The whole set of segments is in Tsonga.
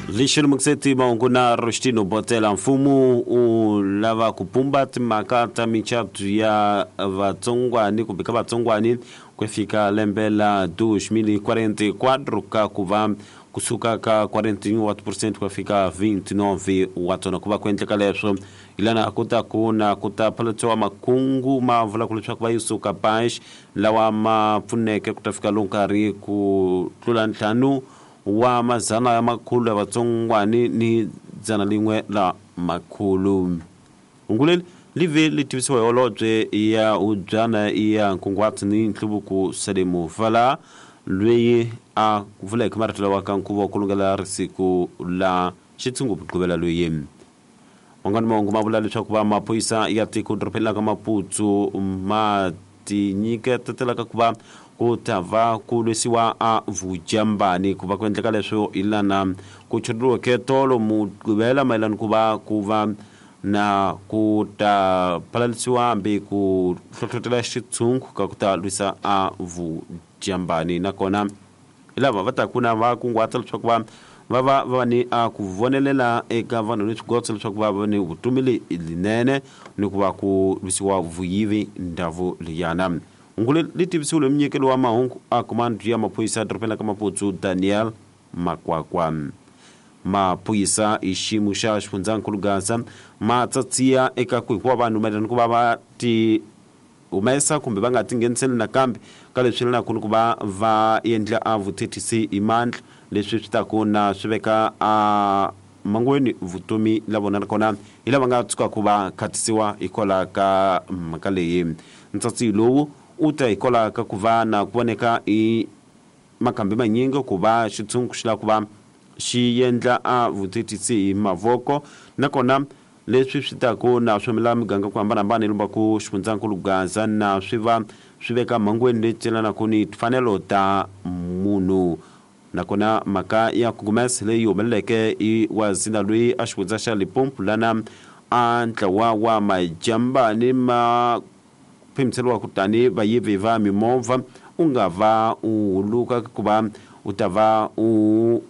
Lixilumukiseti mahungu na Rostino Botela. Mfumo u lava ku pumba timhaka ta micato ya vatsongwani kumbe ka vatsongwani ku fika lembe la 2044 ka ku va kusuka ka 41 wa 1 ku fika 29 wa tona. Ku va ku endleka leswo hilana ku ta ku na ku ta phalatiwa makungu ma vula ku leswaku va yi suka panch lawa ma pfuneke ku ta fika lowu nkarhi ku tlula 5 wa mazana ya makhulu ya vatsongwani ni 100 la makhulu. Hungu leri li ve li tivisiwa hi holobye ya hubyana ya nkunguhato ni nhluvuko Selimu Vala, loyi a vuleke marito lawa ka nkhuvo wa ku lungela risiku la xitshungu Mugqivela loyi. Man'wana mahungu ma vula leswaku va maphorisa ya tiko dorobeni la ka Maputo ma tinyiketelaka ku va ku ta va ku lwisiwa a vujambani. Ku va ku endleka leswo hi lana ku cheriweke tolo Mugqivela mayelana ku va ku va na ku ta phalalisiwa hambi ku hlohlotela xitshungu ka ku ta lwisa a vujambani. Nakona hi lava va ta ku na va kunguhata leswaku va va va va ni a ku vonelela eka vanhu ni swigotso leswaku va va ni vutomi lelinene ni ku va ku lwisiwa vuyivi ndhawu leyana. Hungu leri li tivisiwile hi munyikeli wa mahungu a komando ya maphorisa dorobeni la ka Maputo Daniel Makwakwa. Maphorisa hi xiyimo xa xifundzankulu Gaza ma tsatsiya eka ku hinkwawo vanhu mayelana ku va va ti humesa kumbe va nga tingheniseli nakambe ka leswi yelanaka ni ku va va endla a vuthethisi hi mandla, leswi swi taku na swi veka a mangweni vutomi la vona, nakona hi lava nga tshukaku va khatisiwa hikwalaho ka mhaka leyi. Ntsatsiyo lowu u ta hikwalaho ka ku va na ku voneka hi makhambi manyingi ku va xitshungu xi lava ku va xi endla a vuthethisi hi mavoko, nakona leswi swi taku na swi humelela miganga ku hambanahambana yi lumbaku xifundzankulu Gaza na swi va swi veka mhangweni leyi yelanaka ni timfanelo ta munhu. Nakona mhaka ya Gomez leyi humeleleke i wazina loyi a xifundza xa Limpopo lana a ntlawa wa majambani ma phimiseriwaka tani vayivi va mimovha u nga va u huluka ku va u ta va u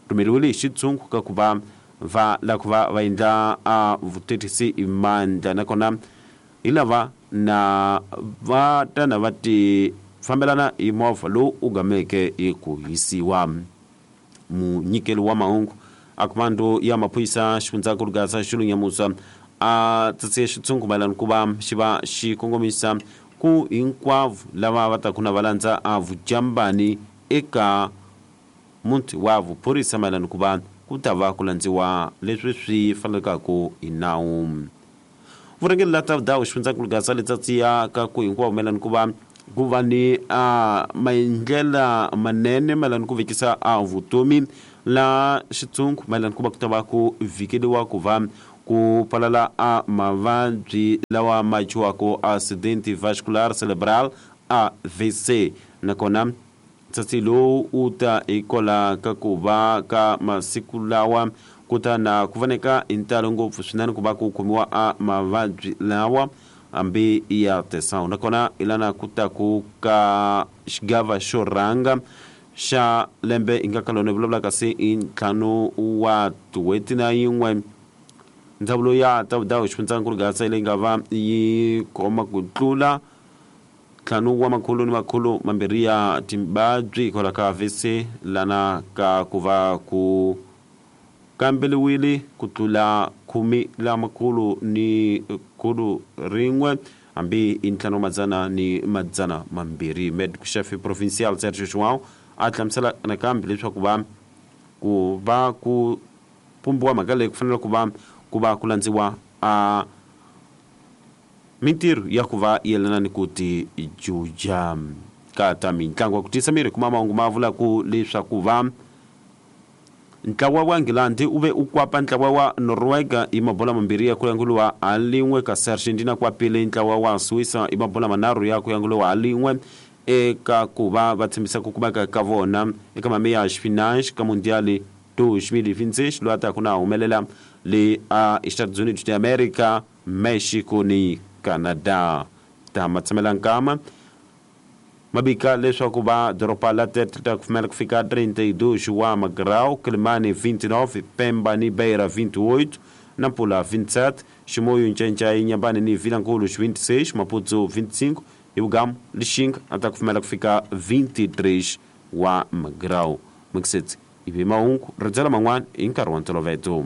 rhumeriwile hi xitshungu ka ku va va lava ku va va endla a vuthethisi hi mandla. Nakona hi lava na va tana va ti fambelana hi movha lowu u gameke hi ku hisiwa. Munyikeli wa mahungu a komando ya maphorisa xifundzankulu Gaza Xulu Nyamusa a tsatsiye xitshungu mayelana ku va xi va xi kongomisa ku hinkwavo lava va taku na va landza a vujambani eka muti wa vuphorisa mayelana ku va ku ta va ku landziwa leswi swi fanelekaku hi nawu. Vurhangeri la ta dawu xifundzankulu Gaza le tsatsiya ka ku hinkwavo mayelana ku va ku va ni a maendlela manene mayelana ku vekisa a vutomi la xitshungu mayelana ku va ku ta va ku vhikeliwa ku va ku pfalala a mavabyi lawa ma tyiwaka accident vascular cerebral AVC. Nakona ntsatsi lowu u ta hikwalaho ka ku va ka masiku lawa ku ta na ku voneka hi ntalo ngopfu swinene ku va ku khomiwa a mavabyi lawa hambi ya tesawu. Nakona hi lana ku ta ku ka xigava xo rhanga xa lembe hi nga ka lona hi vulavula kasi hi 5 wa tin'hweti na yin'we ndzawulo ya ta vudawu xifundzankulu Gaza leyi nga va yi khoma ku tlula 5 wa makhulu ni makhulu mambirhi ya timbabyi hikwalaho ka AVC lana ka ku va ku kamberiwile ku tlula 10 la makhulu ni 100 hambi i 5 madzana ni madzana mambirhi. Medical chef provincial Sergio João a hlamusela nakambe leswaku va ku va ku pumbiwa mhaka leyi ku fanele ku va ku va ku landziwa a mintirho ya ku va yelana ni ku tijuja ka ta mitlangu wa ku tiyisa miri. Kuma mahungu ma vula ku leswaku va ntlawa wa Nghilandhi u ve u kwapa ntlawa wa Norwega hi mabola mambirhi ya ku yanguliwa ha lin'we, kasi Argentina kwapile ntlawa wa Suisa hi mabola manharhu ya ku yanguliwa ha lin'we eka ku va va tshembisa ku kumeka ka vona eka mameya xipinachi ka Mundial 2026 loyi a taka na humelela le a Estados Unidos de America, Mexico ni Canada. Ta matshamela nkama Mabika leswaku va doroba la Tete ta kufumela ku fika 32 wa magrau, Quelimane 29, Pemba ni Beira 28, Nampula 27, Chimoio, Ncencai, Inhambane ni Vilankulo 26, Maputo 25, Iugamu, Lixinga a ta kufumela ku fika 23 wa magrau. Mukisetse ivi mahungu ri byela man'wana hi nkarhi wa ntoloveto.